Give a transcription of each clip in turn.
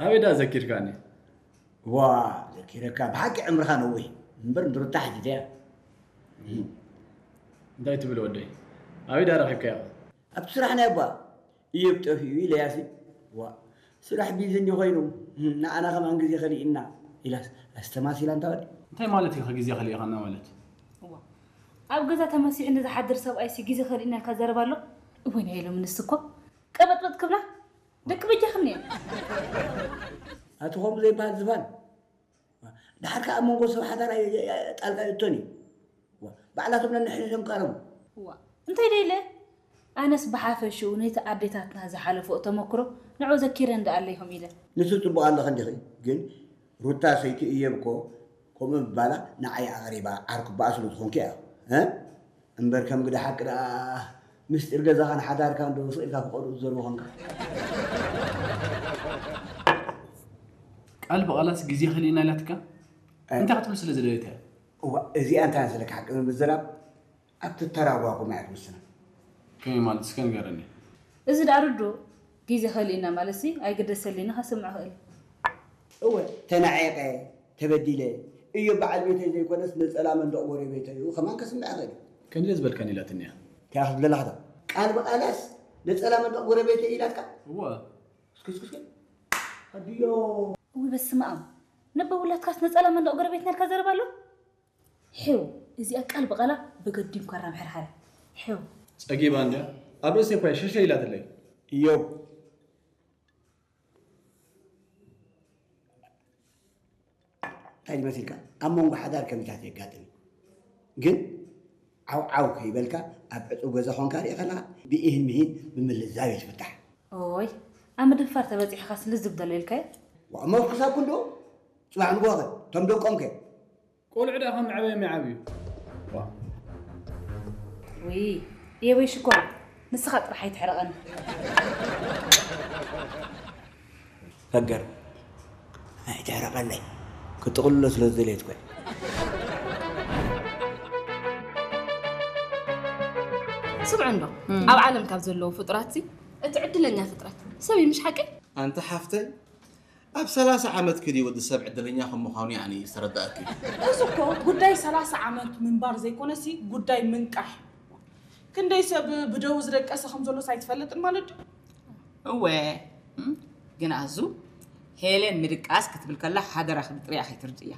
ኣበይ ደኣ ዘኪርካኒ? ዋ፣ ዘኪረካ ብሓቂ ዕምርኻ ነዊሕ እምበር ንሩታ ሓቲተያ። እንታይ ትብል ወደይ? ኣበይ ደኣ ረኺብካያ? ኣብቲ ስራሕ ናይ ኣቦኣ። እዮብ ጠፊኡ ኢለያሲ። ዋ፣ ስራሕ ቢዚ እንዲ ኮይኑ ንዓና ከማን ግዜ ከሊእና ኢላስ ኣስተማሲላ እንታ ወዲ። እንታይ ማለት እዩ ግዜ ከሊእኻና ማለት? እዋ፣ ኣብ ገዛ ተመሲሑ ንዝሓድር ሰብኣይሲ ግዜ ከሊእና ኢልካ ዘረባ ኣሎ? እወ ናይ ኢሎም ንስ እኮ ቀበጥበጥ ክብላ ደቂ በጃኽን እየ። ኣቲ ከምኡ ዘይበሃል ዝባን። ድሓር ከኣ ኣብ መንጎ ሰብ ሓዳር ኣይ- ኣይ- ኣይ- ጣልቃ ይእቶን እዩ። ዋ፣ ባዕላቶም ነንሕድሕዶም ቀረቡ። እዋ እንታይ ደይለ ኣነስ ብሓፈሽኡ ነቲ ኣዴታትና ዝሓለፎ ተመክሮ ንዑ ዘኪረ እንዳ ኣለይኹም ኢለ። ንሱ ጽቡቕ ኣለኺ እንዲኺ ግን ሩታ ሰይቲ እየብ እኮ ከምኡ ምባላ ንዓይ ኣቕሪባ ዓርኩ በኣ ስለ ዝኾንኪ እያ እ እምበር ከም ግደ ሓቂ ደኣ ምስጢር ገዛኻን ሓዳርካን ዶ ስቕ ኢልካ ክቐርኡ ዝዘርቡ ኾንካ። ቃል ብቓላስ ግዜ ከሊእና ኢላትካ እንታይ ክትብል ስለ ዝደለየት እያ? እዋ እዚኣ እንታይ መሰለካ ሓቂ ንምዝራብ ኣብቲ ተራጓጉም እያ ትውስና። ከመይ ማለት እስከ ንገረኒ። እዚ ደኣ ርዱእ ግዜ ከሊእና ማለትሲ ኣይግደሰልኒ ከስምዕ ክእል። እወ ተናዒቐ ተበዲለ እዮ በዓል ቤተይ ዘይኮነስ ነፀላ መንደቕ ጎረቤተይ እዩ ከማን ከስምዕ ይኽእል እዩ። ከምዚ ዝበልካኒ ኢላትኒ እያ። እንታይ ክትብለላ ኸታ ቃል ብቓላስ ነፀላ መንደቕ ጎረቤተይ ኢላትካ? እወ እስኪ እስኪ እስኪ ኣድዮ። እውይ በስመ ኣብ ነባ ውላድካስ ነፀላ መንደቕ ጎረቤትና ኢልካ ዘረባ ኣሎ? ሒው እዚኣ ቃል ብቓላ ብገዲምካ ራም ሕርሓረ ሒው ጸጊባ እንድያ ኣብ ርእሲ እኳ ሸሸ ኢላትለይ። እዮብ እንታይ ድመሲልካ ኣብ መንጎ ሓዳር ከምዚታት የጋጥም እዩ። ግን ዓው ዓው ከይበልካ ኣብ ዕፁብ ገዛ ኾንካ ሪእኻ ኣለኻ ብኢሂን ምሂን ብምልዛብ እዩ ዝፍታሕ። ኦይ ኣብ ምድንፋር ተበፂሕኻስ ልዝብ ደሎ ኢልካዮ? ዋእ መፍኩሳኩም ዶ ፅባሕ ንግሆ ኸ እቶም ደቆም ከ ቆልዑ ደኣ ካብ መዕበዮም ይዓብዩ። ውይ የበይ ሽኮር ንስኻ ጥራሕ ኣይትሕረቐኒ። ፈገር ኣይትሕረቐለይ ክጥቕልሎ ስለ ዝደለየት ኮይ። ስምዑ እንዶ ኣብ ዓለም ካብ ዘለዉ ፍጡራት እቲ ዕድለኛ ፍጥረት ሰብ እዩ ምሽ ሓቀይ? ኣንቲ ሓፍተይ ኣብ ሰላሳ ዓመትኪ ድዩ ወዲ ሰብ ዕድለኛ ከም ምዃኑ ያዕኒ ዝተረዳእኪ? እዚ እኮ ጉዳይ ሰላሳ ዓመት ምንባር ዘይኮነሲ ጉዳይ ምንቃሕ። ክንደይ ሰብ ብደው ዝደቀሰ ከም ዘሎስ ኣይትፈልጥን ማለት ድዩ? እወ እም፣ ግን ኣዙ ሄለን ምድቃስ ክትብል ከላ ሓደራኺ ብጥሪኣ ከይትርድእያ።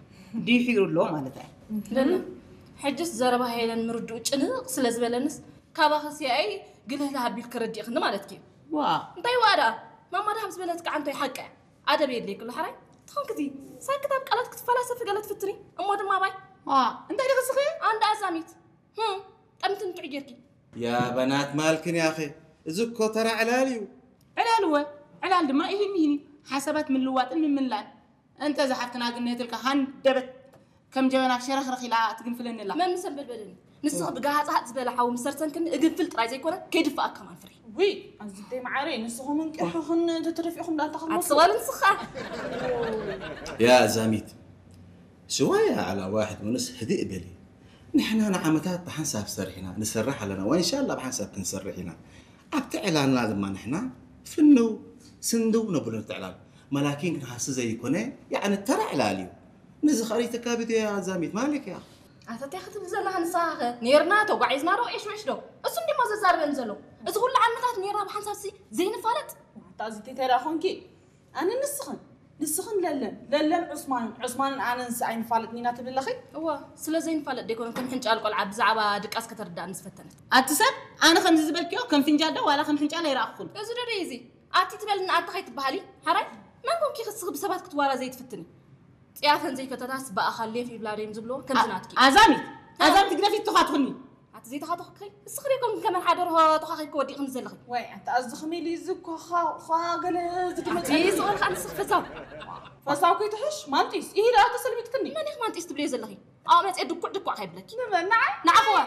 ድሒሩ ኣሎ ማለት እያ። ለለ፣ ሕጅስ ዘረባ ሄለን ምርድኡ ጭንቕ ስለ ዝበለንስ ካባኺ ሲኣይ ግልህልህ ኣቢልኪ ረዲእኽኒ ማለትኪ እዩ። ዋ እንታይ ዋዳ ማማ ድሃብ ዝበለት ከዓ እንቶይ ሓቂ ኣደብ የድልየኪ ኣሎ ሓራይ ትኾንክዚ ሳክት ኣብ ቃላት ክትፈላሰፊ ገለ ትፍትኒ እሞ ድማ ባይ ዋ እንታይ ደኸስኺ ኣንዳ ኣዛሚት ህም ጠምቲ እንትዕ ጌርኪ ያ በናት ማልክን ያኸ እዚ እኮ ተራ ዕላል እዩ ዕላል እወ ዕላል ድማ ይህን ይህን ሓሳባት ምልዋጥን ምምላን እንተ ዝሓፍትና ግን ነትልካ ሃንደበት ከም ጀበና ሸረኽረኽ ኢላ ትግንፍለኒ ኣላ። መምሰ በልበለኒ። ንስኺ ብጋሃጽ ዝበለ ሓዊ ምስ ሰርሰንክኒ እግንፍል ጥራይ ዘይኮነ ከይድፍኣካ ከማን ፍርሒ። ውይ ኣዝብተይ መዓረይ ንስኹም እንቅሕኽን ተተደፊእኹም ዳኣ ኣታ ኣቲ ክትመቱ። ስቕ በል ንስኻ። ያ ዛሚት ሽዋያ ዓላ ዋሕድ ምንስ ህድእ በሊ ንሕና ንዓመታት ብሓንሳብ ሰሪሕና ንሰርሕ ኣለና ወኢንሻላ ብሓንሳብ ክንሰርሕ ኢና ኣብቲ ዕላልና ድማ ንሕና ፍንው ስንድው ነብሎ እቲ ዕላል መላኪን ክንሃሲ ዘይኮነ ያዕኒ ተራ ዕላል እዩ ነዚ ኸሪተካ ቪድዮ እያ ዛሚት ማለክ እያ ኣታ እንታይ ክትብል ዘለኻ ንስኻ ኸ ኔርና ተጓዒዝና ዶ ዒሽውዒሽ ዶ እሱ እንዲሞ ዘዛርበኒ ዘሎ እዚ ኩሉ ዓመታት ኔርና ብሓንሳብ ሲ ዘይንፋለጥ ኣታ እዚ እንታይ ደኣ ኾንኪ ኣነ ንስኽን ንስኽን ለለን ለለን ዑስማንን ዑስማንን ኣነንስ ኣይንፋለጥን ኢና ትብሊ ኣለኺ እወ ስለ ዘይንፋለጥ ዶ ኣይኮነን ከም ሕንጫል ቆልዓ ብዛዕባ ድቃስ ከተርድኣኒ ዝፈተነት ኣቲ ሰብ ኣነ ከምዚ ዝበልክዮ ከም ፍንጃል ዶ ዋላ ከም ሕንጫል ኣይረኣኹን እዚ ዶ ደይ እዚ ኣቲ ትበልኒ ኣታ ከይትበሃሊ ሓራይ መን ኮንኪ ክስኺ ብሰባት ክትዋራዘዪ ትፍትኒ ፅያፈን ዘይፈተታስ ብኣኻል ሌፍ ይብላ ዶ እዮም ዝብልዎ ከምዚ ናትኪ ኣዛሚት ኣዛሚት ግደፊ ትኻትኹኒ ኣቲ ዘይተኻተኹኪ እስኺ ዶ ኮንኪ ከመን ሓደ ርሆ ተኻኺብኪ ወዲቕክኒ ዘለኺ ዋይ ኣታ ኣዚ ኸመይ ኢሉ እዚ እኳ ኸ ኸ ገለ ዝግመፀ ኣቲ ስቕ በል ኸኣ ንስኺ ፈሳው ፈሳው ከይትሕሽ ማንጢስ ኢሂ ደኣ ተሰልቢጥክኒ መን ኢኺ ማንጢስ ትብልዮ ዘለኺ ኣብኣ መፅአ ድኩዕ ድኳዕ ከይብለኪ ንመን ንዓይ ንዓኹዋ